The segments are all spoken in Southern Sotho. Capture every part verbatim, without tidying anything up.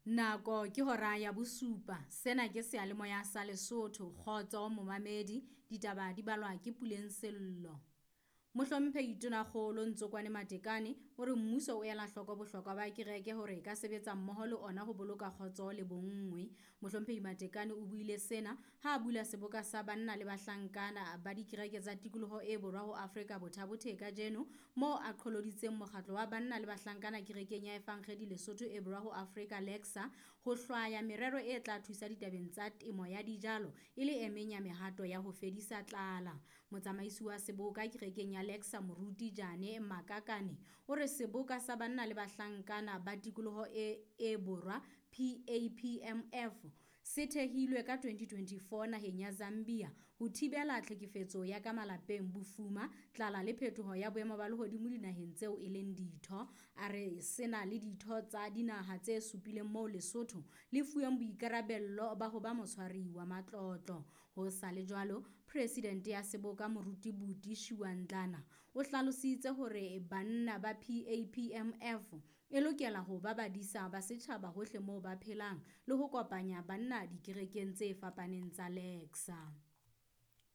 Nako ke hora ya bosupa. Sena ke seyalemoya sa Lesotho. Kgotso momamedi, ditaba di balwa ke Puleng Sello. Mohlomphehi Tonakgolo Ntsokwane Matekane o re mmuso o ela hloko bohlokwa ba kereke hore e ka sebetsa mmoho le ona ho boloka kgotso le bonngwe. Mohlomphehi Matekane o buile sena ha a bula seboka sa banna le bahlankana ba dikereke tsa tikoloho e borwa ho Afrika Bothabothe kajeno, moo a qholoditseng mokgatlo wa banna le bahlankana kerekeng ya Evangedi Lesotho e borwa ho Afrika Lexa ho hlwaya merero e tla thusa ditabeng tsa temo ya dijalo e le e meng ya mehato ya ho fedisa tlala. Motsamaisi wa seboka kerekeng ya Lexa Moruti Jane Makakane o re seboka sa banna le bahlankana ba tikoloho e, e borwa P A P M F se thehilwe ka twenty twenty-four naheng ya Zambia ho thibela tlhekefetso ya ka malapeng, bofuma, tlala le phetoho ya boemo ba lehodimo dinaheng tseo e leng ditho. A re sena le ditho tsa dinaha tse supileng moo Lesotho le fuweng boikarabello ba ho ba motshwari wa matlotlo. Ho sa le jwalo, presidente ya seboka Moruti Buti Shiwandlana o hlalositse hore banna ba P A P M F e lokela ho ba badisa ba setjhaba hohle moo ba phelang le ho kopanya banna dikerekeng tse fapaneng tsa Lexa.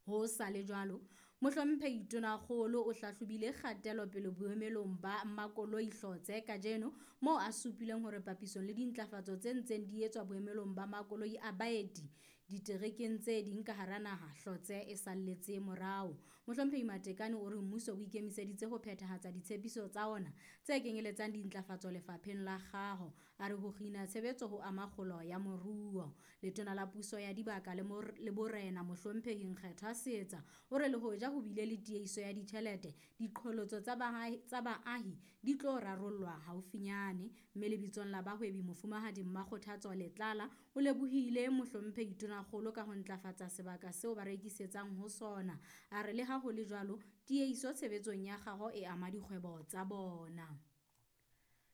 Ho sa le jwalo, Mohlomphehi Tonakgolo o hlahlobile kgatelopele boemelong ba makoloi Hlotse kajeno, moo a supileng hore papisong le dintlafatso tse ntseng di etswa boemelong ba makoloi a baeti diterekeng tse ding ka hara naha, Hlotse e salletse morao. Mohlomphehi Matekane o re mmuso o ikemiseditse ho phethahatsa ditshepiso tsa ona tse kenyeletsang dintlafatso lefapheng la kgaho. A re ho kgina tshebetso ho ama kgolo ya moruo. Letona la puso ya dibaka le mor-, le borena Mohlomphehi Nkgethwa Seetsa o re le hoja ho bile le tiehiso ya ditjhelete, diqholotso tsa baahi, tsa baahi di tlo rarollwa haufinyane. Mme lebitsong la bahwebi Mofumahadi Mmakgothatso Letlala o lebohile Mohlomphehi Tonakgolo ka ho ntlafatsa sebaka seo ba rekisetsang ho sona. A re le ha ho le jwalo, tiehiso tshebetsong ya kgaho e ama dikgwebo tsa bona.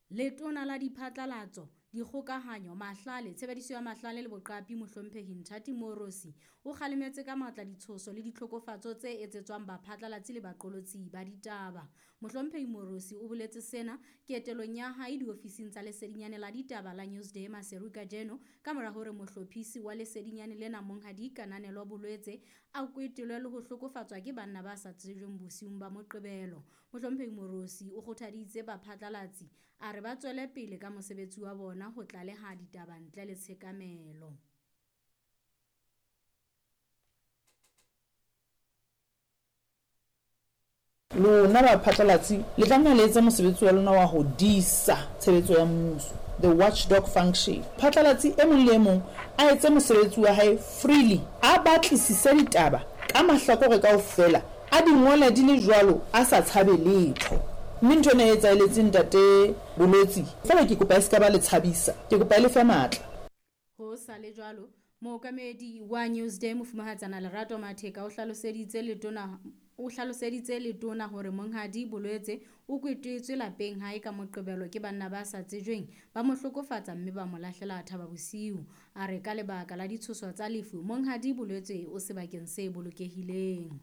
Letona la diphatlalatso, dikgokahanyo, mahlale, tshebediso ya mahlale le boqapi Mohlomphehi Nthati Moorosi o kgalemetse ka matla ditshoso le ditlhokofatso tse etsetswang baphatlalatsi le baqolotsi ba ditaba. Mohlomphehi Moorosi o boletse sena ketelong ya hae diofising tsa lesedinyane la ditaba la Newsday Maseru kajeno, ka mora hore mohlophisi wa lesedinyane lena Monghadi Kananelo Bolwetse a kwetelwe le ho hlokofatswa ke banna ba sa tsejweng bosiung ba Moqebelo. Mohlomphehi Moorosi o kgothaditse baphatlalatsi a re ba tswele pele ka mosebetsi wa bona ho tlaleha ditaba ntle le tshekamelo. Lona baphatlalatsi le tlameha le etse mosebetsi wa lona wa ho disa tshebetso ya mmuso, the watchdog function. Phatlalatsi e mong le e mong a etse mosebetsi wa hae freely, a batlisise ditaba ka mahlakore kaofela, a di ngole di le jwalo, a sa tshabe letho. Mme ntho ena e etsaheletseng ntate Bolwetse, feela ke kopa e se ka ba le tshabisa, ke kopa e le fe matla. Ho sa le jwalo, mookamedi wa Newsday Mofumahatsana Lerato Matheka o hlaloseditse letona o hlaloseditse letona hore Monghadi Bolwetse o kwetetswe lapeng hae ka Moqebelo ke banna ba sa tsejweng, ba mo hlokofatsa mme ba mo lahlela thaba bosiu. A re ka lebaka la ditshoso tsa lefu, Monghadi Bolwetse o sebakeng se bolokehileng.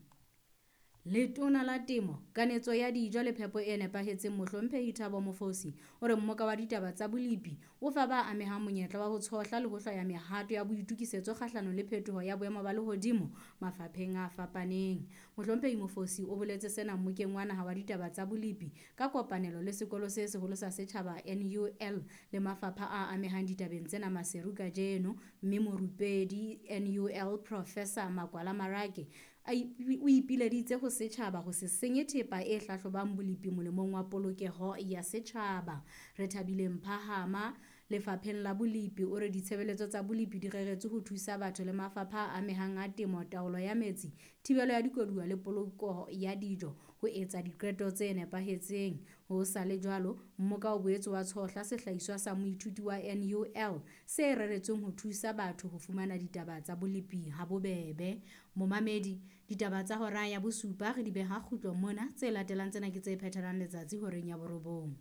Letona la Temo, Kanetso ya Dijo le Phepo e Nepahetseng Mohlomphehi Thabo Mofosi o re mmoka wa ditaba tsa bolepi o fa ba amehang monyetla wa ho tshohla le ho hlwaya mehato ya boitokisetso kgahlanong le phetoho ya boemo ba lehodimo mafapheng a fapaneng. Mohlomphehi Mofosi o boletse sena mmokeng wa naha wa ditaba tsa bolepi ka kopanelo le sekolo se seholo sa setjhaba N U L le mafapha a amehang ditabeng tsena Maseru kajeno, mme morupedi N U L Professor Makwala Marake a ipi-, o ipileditse ho setjhaba ho se senye thepa e hlahlobang bolepi molemong wa polokeho ya setjhaba. Re thabile Mphahama lefapheng la bolepi o re ditshebeletso tsa bolepi di reretswe ho thusa batho le mafapha a amehang a temo, taolo ya metsi, thibelo ya dikoduwa le poloko ya dijo ho etsa diqeto tse nepahetseng. Ho sa le jwalo, mmoka o boetse wa tshohla sehlahiswa sa moithuti wa N U L se reretsweng ho thusa batho ho fumana ditaba tsa bolepi ha bobebe. Momamedi, ditaba tsa hora ya bosupa re di beha kgutlo mona, tse latelang tsena ke tse phethelang letsatsi horeng ya borobong.